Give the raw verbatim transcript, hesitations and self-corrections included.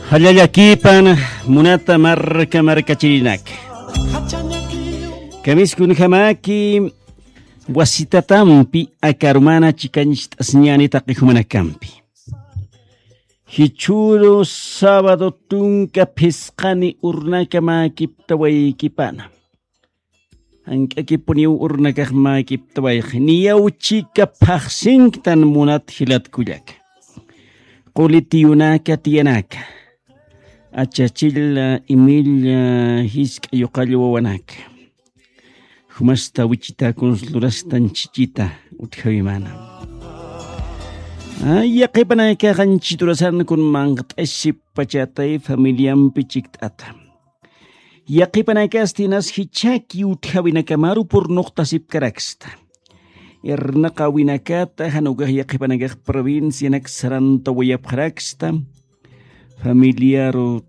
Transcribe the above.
Qhallallakipan munata marka markachirinaka. Kamiskunjamaki wasitatampi akarumana chikancht'asiñani taqi jumanakampi. Jichhüru sábado tunka phisqani urnaka mäkiptawaykipana. Jank'akipuniw urnakax mäkiptawayxi niyaw chika phaxsinktan munat jilatkullaka. Quli tiyunaka tiyanaka, achachilla imilla jisk'a yuqall wawanaka, jumasta wichita kunslurastan chichita utjawimana. Yaqipanakaxan chiturasan kun manqt'asipachatay familiampi chikt'ata. Yaqipanakasti nas jichhaki utjawinakamaru purnuqtasipkaraksta. Irnaqawinakata jan ukax yaqipanakax provincianak sarantawayapxaraksta. Familiaru